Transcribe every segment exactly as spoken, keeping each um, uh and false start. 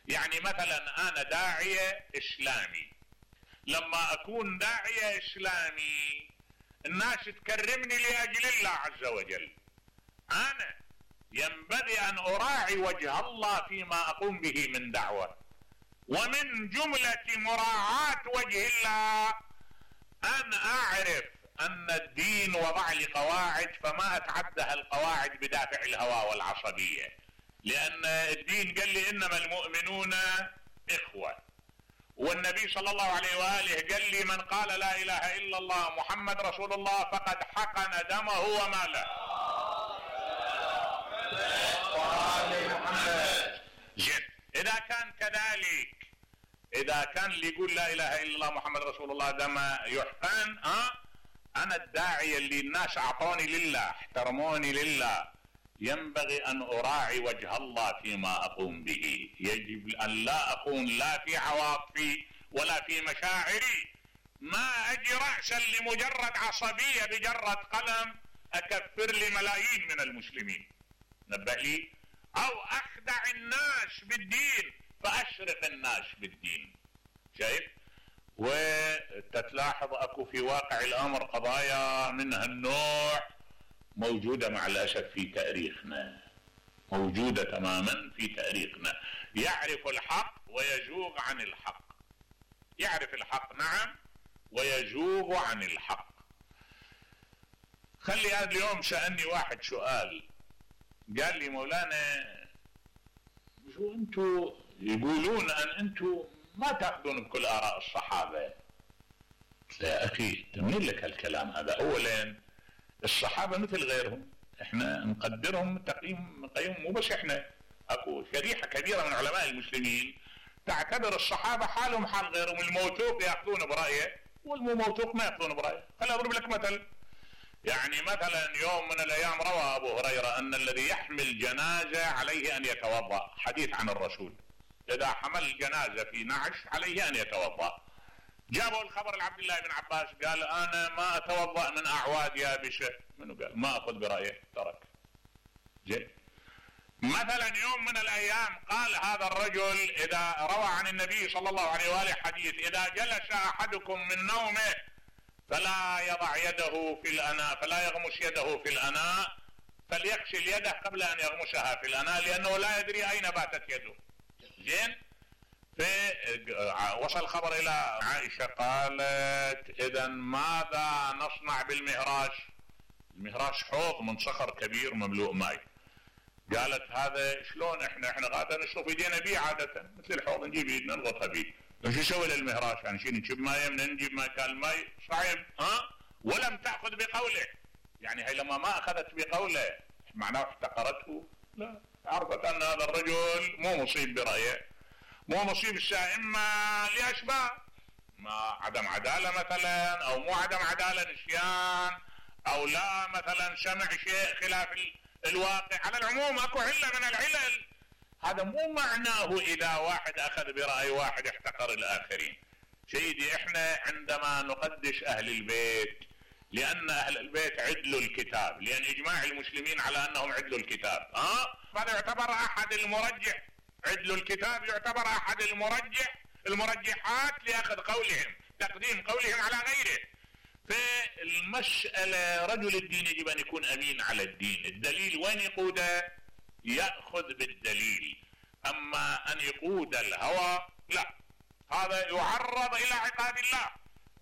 يعني مثلا انا داعية اسلامي، لما اكون داعية اسلامي الناس تكرمني لاجل الله عز وجل، انا ينبغي ان اراعي وجه الله فيما اقوم به من دعوة، ومن جملة مراعاة وجه الله ان اعرف ان الدين وضع لي قواعد فما اتعدى القواعد بدافع الهوى والعصبية، لان الدين قال لي انما المؤمنون اخوة، والنبي صلى الله عليه وآله قال لي من قال لا اله الا الله محمد رسول الله فقد حقن دمه وماله. جد اذا كان كذلك، اذا كان اللي يقول لا اله الا الله محمد رسول الله دم يحقن، ها انا الداعية اللي الناس اعطوني لله احترموني لله ينبغي ان اراعي وجه الله فيما اقوم به، يجب ان لا اكون لا في عواطفي ولا في مشاعري، ما اجي رأسا لمجرد عصبية بجرد قلم اكفر لي ملايين من المسلمين، نبه لي، او اخدع الناس بالدين فاشرق الناس بالدين. شايف؟ وتتلاحظ اكو في واقع الامر قضايا من هالنوع موجودة مع الاسف في تاريخنا، موجودة تماما في تاريخنا، يعرف الحق ويزوغ عن الحق، يعرف الحق نعم ويزوغ عن الحق. خلي هذا اليوم سألني واحد سؤال، قال لي مولانا شو انتو يقولون ان انتو ما تاخذون بكل اراء الصحابة. لا اخي تمنين لك هالكلام هذا، اولا الصحابة مثل غيرهم، احنا نقدرهم تقييم نقيم، مو بس احنا، اكو شريحة كبيرة من علماء المسلمين تعتبر الصحابة حالهم حال غيرهم، الموثوق ياخذون برأيه والمو موثوق ما ياخذون برأيه. خلي اضرب لك مثل، يعني مثلا يوم من الايام روى ابو هريرة ان الذي يحمل جنازة عليه ان يتوضأ، حديث عن الرسول، اذا حمل جنازة في نعش عليه ان يتوضأ. جابوا الخبر لعبد الله بن عباس قال انا ما اتوضأ من اعواد يابسة، منو قال ما اخذ برأيه ترك. جي مثلا يوم من الايام قال هذا الرجل اذا روى عن النبي صلى الله عليه وآله حديث اذا جلس احدكم من نومه فلا يضع يده في الاناء، فلا يغمس يده في الاناء، فليغسل يده قبل ان يغمسها في الاناء لانه لا يدري اين باتت يده. زين؟ فوصل الخبر الى عائشة قالت اذا ماذا نصنع بالمهراش؟ المهراش حوض من صخر كبير مملوء ماء. قالت هذا شلون احنا احنا غادا نشرب ايدينا بيه عادة، مثل الحوض نجيب ايدنا نضغطها بيه، شو يسوي للمهراش؟ يعني شي نجيب ماء من نجيب مكان الماء صعب، ها؟ ولم تأخذ بقوله، يعني هي لما ما اخذت بقوله معناه احتقرته؟ لا، عرفت ان هذا الرجل مو مصيب برأيه، مو مصيب الساعة اما لاشباه، ما عدم عدالة مثلا، او مو عدم عدالة نسيان، او لا مثلا سمع شيء خلاف الواقع. على العموم اكو علة من العلل، هذا مو معناه اذا واحد اخذ برأي واحد احتقر الاخرين. سيدي احنا عندما نقدس اهل البيت لان اهل البيت عدلوا الكتاب، لان اجماع المسلمين على انهم عدلوا الكتاب، ها هذا يعتبر احد المرجح، عدلوا الكتاب يعتبر احد المرجح المرجحات لاخذ قولهم، تقديم قولهم على غيره. فالمسألة رجل الدين يجب ان يكون امين على الدين، الدليل وين يقوده؟ يأخذ بالدليل، اما ان يقود الهوى لا، هذا يعرض الى عقاب الله.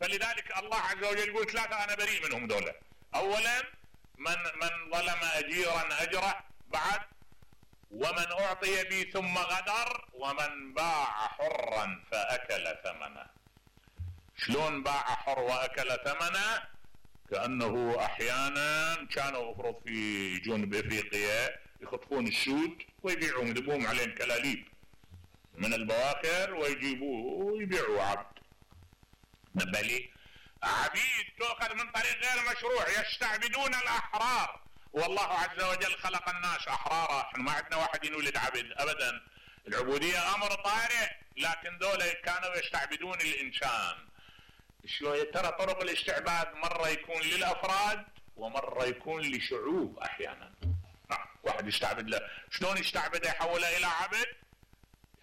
فلذلك الله عز وجل يقول ثلاثة انا بريء منهم دولة، اولا من من ظلم اجيرا اجره، بعد ومن اعطي بي ثم غدر، ومن باع حرا فاكل ثمنه. شلون باع حر واكل ثمنه؟ كأنه احيانا كانوا افرض في جنوب افريقيا يخطفون السود ويبيعون يذبون عليهم كلاليب من البواخر ويجيبوه ويبيعوا عبد. نبالي عبيد تؤخذ من طريق غير مشروع، يستعبدون الاحرار، والله عز وجل خلق الناس احرارا، احنا ما عندنا واحد ينولد عبد ابدا، العبودية امر طارئ، لكن دول كانوا يستعبدون الانسان. شلون؟ ترى طرق الاستعباد مرة يكون للافراد ومرة يكون لشعوب احيانا. واحد يستعبد له، شلون يستعبده يحوله الى عبد؟